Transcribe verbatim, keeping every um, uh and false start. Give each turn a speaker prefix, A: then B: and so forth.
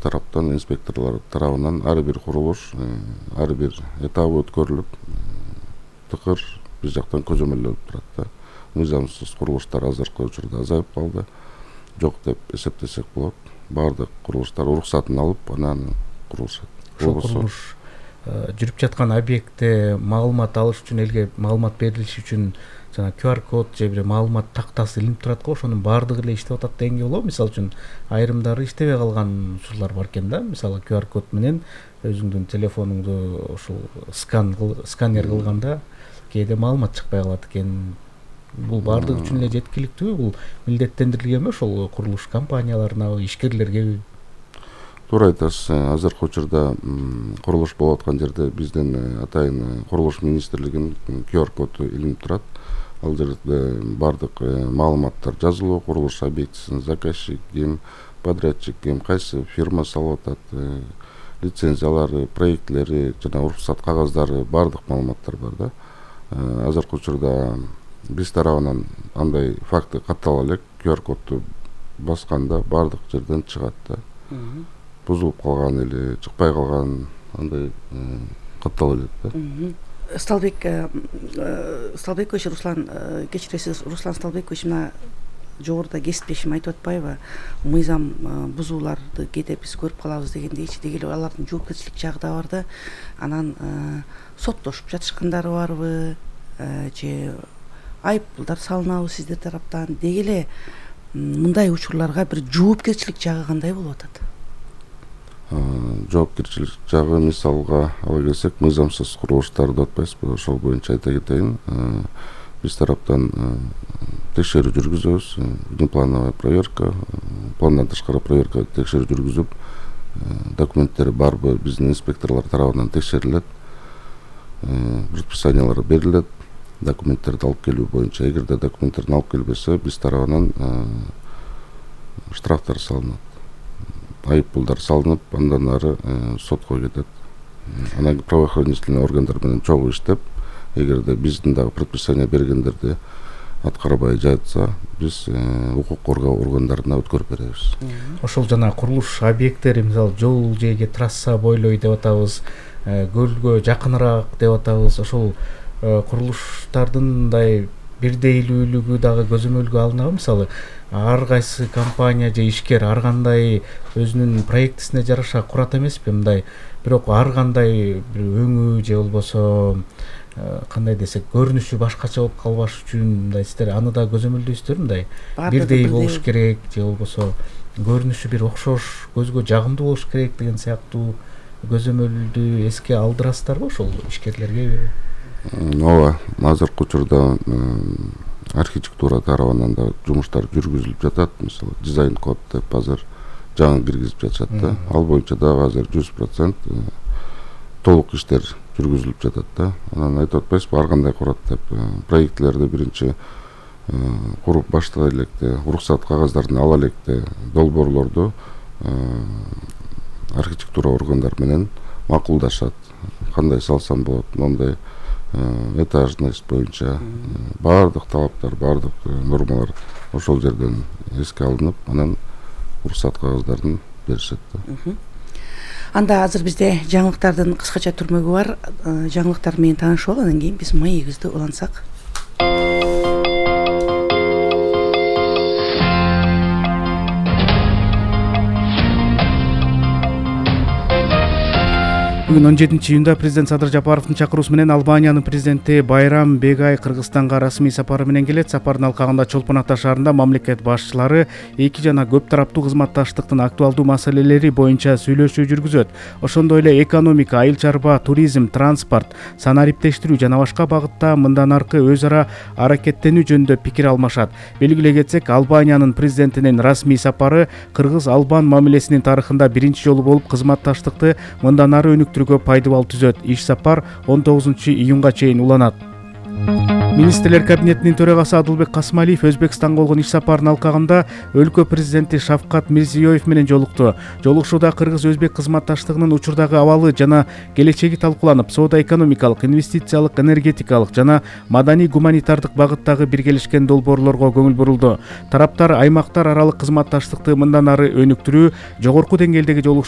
A: тараптан, инспекторлор тарабынан ар бир курулуш, ар бир этабы өткөрүлүп, тыкыр биз жактан көзөмөлдөнүп турат да. Мыйзамсыз курулуштар азыркы учурда азайып калды. Жок деп эсептесек болот. Бардык курулуштар уруксатын алып, анан курулушат.
B: Ошол курулуш жүрүп жаткан объектте маалымат алыш үчүн, элге маалымат берилиши үчүн жана ку ар код же бир маалымат тактасы илинип турат го, ошонун баардыгы эле иштеп атат дегенге болобу? Мисалы үчүн айрымдары иштебей калган учурлар бар экен да. Мисалы ку ар код менен өзүңдүн телефонуңду ушул скан сканер кылганда кээде маалымат чыкпай калат экен. Бул баардыгы үчүн эле жеткиликтүүбү? Бул милдеттендирилгенби ошол курулуш компанияларынабы, ишкерлергеби?
A: Туура айтасыз. Азыркы учурда курулуш болуп аткан жерде биздин атайын курулуш министрлигинин ку ар коду илинип турат. Ал жерде бардык маалыматтар жазылуу, курулуш объектисин заказчик ким, подрядчик ким, кайсы фирма салып атат, лицензиялары, проектлери жана уруксат кагаздары, бардык маалыматтар бар да. Азыркы учурда биз тарабынан андай факты каттала элек, ку ар кодду басканда бардык жерден чыгат да. Бузулуп калган или чыкпай калган андай каттала элек да.
C: Сталбек Сталбекович Руслан, кечиресиз, Руслан Сталбекович мына жогоруда кесиптешим айтып атпайбы? Мыйзам бузууларды кээде биз көрүп калабыз дегендейчи. Деги эле алардын жоопкерчилик жагы да бар да. Анан соттошуп жатышкандары барбы? Же айыппулдар салынабы сиздер тараптан? Деги эле мындай учурларга бир жоопкерчилик жагы кандай болуп атат?
A: Жоопкерчилик жагы мисалга ала келсек, мыйзамсыз курулуштарды атпайсызбы? Ошол боюнча айта кетейин. Биз тараптан текшерүү жүргүзөбүз, внеплановая проверка, пландан тышкары проверка, текшерүү жүргүзүп, документтери барбы биздин инспекторлор тарабынан текшерилет, предписаниялар берилет, документтерди алып келүү боюнча. Эгерде документтерди алып келбесе, биз тарабынан штрафтар салынат, айыппулдар салынып, андан ары сотко кетет. Анан правоохранительный органдар менен чогуу иштеп, эгерде биздин дагы предписание бергендерди аткарбай жатса, биз укук коргоо органдарына өткөрүп беребиз.
B: Ошол жана курулуш объекттери, мисалы жол жээге трасса бойлой деп атабыз, көлгө жакыныраак деп атабыз. Ошол курулуштардын мындай бирдейлүүлүгү дагы көзөмөлгө алынабы? Мисалы ар кайсы компания же ишкер ар кандай өзүнүн проектисине жараша курат эмеспи? Мындай бирок ар кандай бир өңү же болбосо кандай десек, көрүнүшү башкача болуп калбаш үчүн мындай сиздер аны да көзөмөлдөйсүздөр? Мындай бирдей болуш керек же болбосо көрүнүшү бир окшош, көзгө жагымдуу болуш керек деген сыяктуу көзөмөлдү эске алдырасыздарбы ошол ишкерлерге?
A: Ооба, азыркы учурда архитектура тарабынан да жумуштар жүргүзүлүп жатат. Мисалы дизайн код деп азыр жаңы киргизип жатышат да. Ал боюнча дагы азыр жүз процент толук иштер жүргүзүлүп жатат да. Анан айтып атпайсызбы, ар кандай курат деп. Проектлерди биринчи куруп баштай электе, уруксат кагаздарын ала электе долбоорлорду архитектура органдар менен макулдашат. Кандай салсам болот, моундай этажность боюнча бардык талаптар, бардык нормалар ошол жерден эске алынып, анан уруксат кагаздарын беришет да.
C: Анда азыр бизде жаңылыктардын кыскача түрмөгү бар. Жаңылыктар менен таанышып алып, андан кийин биз маегибизди улантсак.
D: Бүгүн он жетинчи июнда президент Садыр Жапаровдун чакыруусу менен Албаниянын президенти Байрам Бегай Кыргызстанга расмий сапары менен келет. Сапардын алкагында Чолпон Ата шаарында мамлекет башчылары эки жана көп тараптуу кызматташтыктын актуалдуу маселелери боюнча сүйлөшүү жүргүзөт. Ошондой эле экономика, айыл чарба, туризм, транспорт, санариптештирүү жана башка багытта мындан аркы өз ара аракеттенүү жөнүндө пикир алмашат. Белгилей кетсек, Албаниянын президентинин расмий сапары кыргыз-албан мамилесинин тарыхында биринчи жолу болуп кызматташтыкты мындан ары өнүктүрүүгө пайдабал түзөт. Иш сапар он тогузунчу июнга чейин уланат. Министрлер кабинетинин төрагасы Адылбек Касымалиев Өзбекстанга болгон иш сапарынын алкагында өлкө президенти Шавкат Мирзиёев менен жолукту. Жолугушууда кыргыз-өзбек кызматташтыгынын учурдагы абалы жана келечеги талкууланып, соода-экономикалык, инвестициялык, энергетикалык жана маданий-гуманитардык багыттагы биргелешкен долбоорлорго көңүл бурулду. Тараптар аймактар аралык кызматташтыкты мындан ары өнүктүрүү, жогорку деңгээлдеги жолугушуу